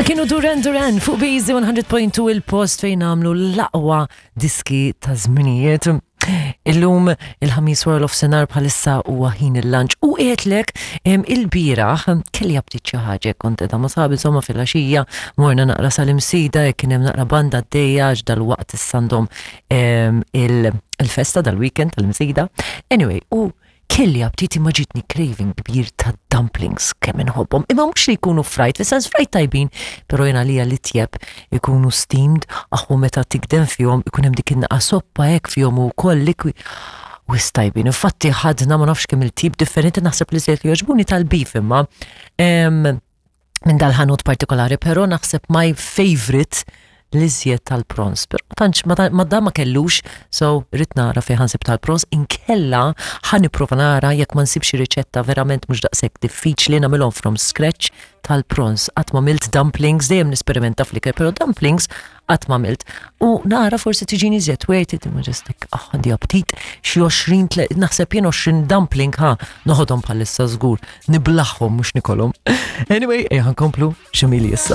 Kienu Duran Duran fuq Bizi 100.2 il-post fejn għamlu l-aqwa diski ta' żminijiet. Illum il-ħamis wara l-ofsenar bħalissa huwa ħin il-lunch u qiegħedlek il-bieraħ kelli aptit xi ħaġa kont qiegħda ma' sabi insomma fil-għaxija morna naqra sal-imsida jekk kien hemm naqra banda għaddejja għax dal-waqt issa għandhom il-festa dal-weekend tal-imsida. Anyway, u Kelli aptit imma ġietni craving kbir ta' dumplings kemm inħobbhom. Imma mhux li jkunu fried, fis-sens fried tajbin, però jien għalija li tjeb ikunu steamed, aħu meta tikdem fihom ikun hemm dik in-naqa soppa hekk fihom u wkoll likwi. Wis tajbin. Infatti ħadna ma nafx kemm il-tip differenti naħseb li żejt li jogħġbuni tal-beef imma minn dal-ħanut partikolari, però naħseb my favorite l-iżjed tal-prons. Pero tantx ma da ma kellux, so rrid nara fejn ħansib tal-prons, inkella ħa nipprova nara jekk ma nsibx riċetta verament mhux daqshekk diffiċli nagħmilhom from scratch tal-prons. Qatt ma milt dumplings, dejjem nisperimenta fl-ikel, però dumplings qatt ma għamilt. U nara forsi tiġini iżjed worth it, imma just like, ah, għandi aptit, xi 20, naħseb jien 20 dumpling, ha, noħodhom bħalissa żgur, niblaħħom mhux nikolhom. Anyway, ejja nkomplu x'imili issa.